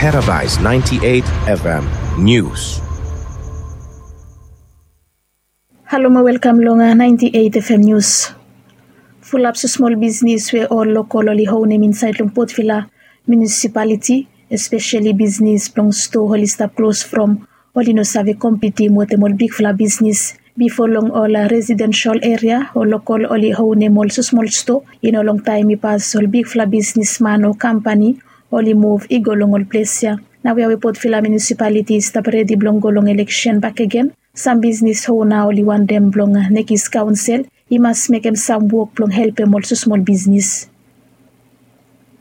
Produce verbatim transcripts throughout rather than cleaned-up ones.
Paradise ninety-eight F M News. Halo mo welkam long ninety-eight F M News. Fulap smosmol bisnis we ol lokol oli onem insaed long Port Vila munisipaliti, espeseli bisnis blong stoa oli stap klos from oli no save kompitim wetem ol bigfala bisnis. Bifo long ol residensel eria ol lokol oli onem ol smosmol stoa. I no longtaem i pas ol bigfala bisnisman o kampani oli muv i go long ol ples ya. Naoia we Port Vila munisipaliti i stap redi blong go long eleksen bakegen, sam bisnis ona oli wantem blong nekis kaonsel i mas mekem sam wok blong helpem ol smosmol bisnis.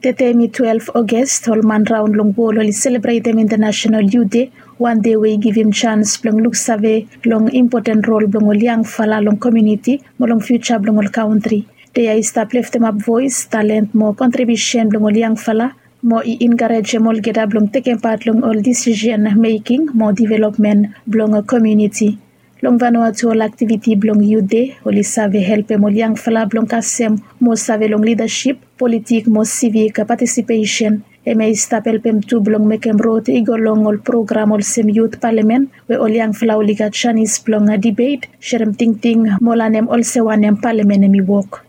Tede mi twelef Oges ol man raon long wol oli selebretem Intanasenal Yut Dei, wan dei we i givim jans blong luksave long impoten rol blong ol yangfala long komuniti mo long fiuja blong ol kantri. Dei ya i stap leftemap voes, talent mo kontribiusen blong ol yangfala mo i enkarejem olgeta blong tekem pat long ol disisen meking mo developmen blong komuniti. Long Vanuatu ol aktiviti blong Yut Dei oli save helpem ol yangfala blong kasem mo save long lidasip, politik mo sivik patisipesen. Hemia i stap helpem tu blong mekem rod i go long ol program olsem yut palamen we ol yangfala oli gat janis blong dibet, serem tingting mo lanem olsem wanem palamen hemi wok.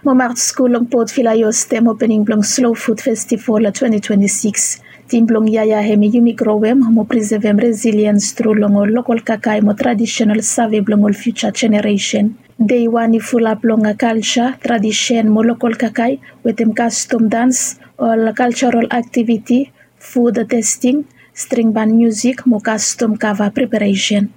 Mo maket skul long Port Vila i hostem opening blong Slow Food Festival twenty twenty-six. Tim blong yia ya hemi yumi growem mo prisevem resiliens tru long ol lokol kakae mo tradisenal save blong ol fiuja jeneresen. Dei wan i fulap long kalja, tradisen mo lokol kakae wetem kastom dans, ol kaljarol aktiviti, fud testing, string ban miusik mo kastom kava preparesen.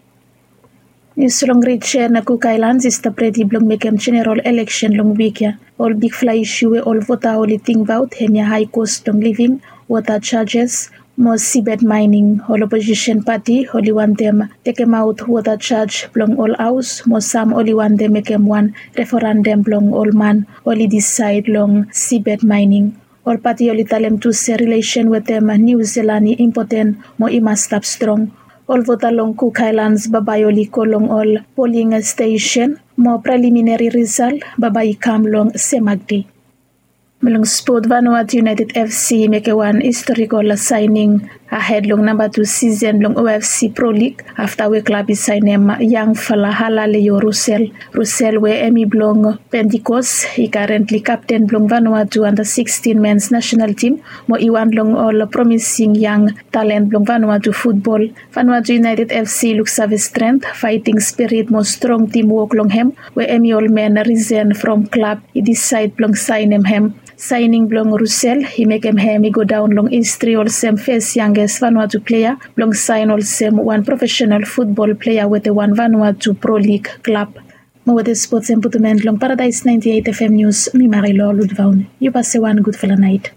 Nius long rijen Kuk Aelans i stap redi blong mekem jeneral eleksen long wik ya. Ol bigfala isu we ol vota oli tingbaot hemia hae kos blong living, wota jajes mo sibed maening. Ol oposisen pati oli wantem tekemaot wota jaj blong ol haos mo sam oli wantem mekem wan referandam blong ol man oli disaed long sibed maening. Ol pati oli talem tu se rilesen wetem Niu Silan i impoten mo i mas stap strong. Ol vota long Kuk Aelans bambae oli go long ol poling stesen mo preliminari risal bambae i kam long semak dei. Mo long spot, Vanuatu United F C i mekem wan historikol saening ahed long namba tu sisen blong O F C Pro League afta we klab i saenem yangfala Halaleo Rusel. Rusel we hemi blong Pentikos i karentli kapten blong Vanuatu anda sikstin mens nasenal tim mo i wan long ol promising yang talen blong Vanuatu futbol. Vanuatu United F C i luksave strent, faeting spirit mo strong timwok long hem we hemi ol men risen from klab i disaed blong saenem hem. Saening blong Rusel i mekem hem i godaon long histri olsem fes yanges Vanuatu plea blong saen olsem wan profesenal futbol plea wetem wan Vanuatu Pro League klab. Mo wetem spots hemia putum en long Paradise ninety eight F M News, mi Marilou Ludvaun. Yu bae se wan gudfala naet.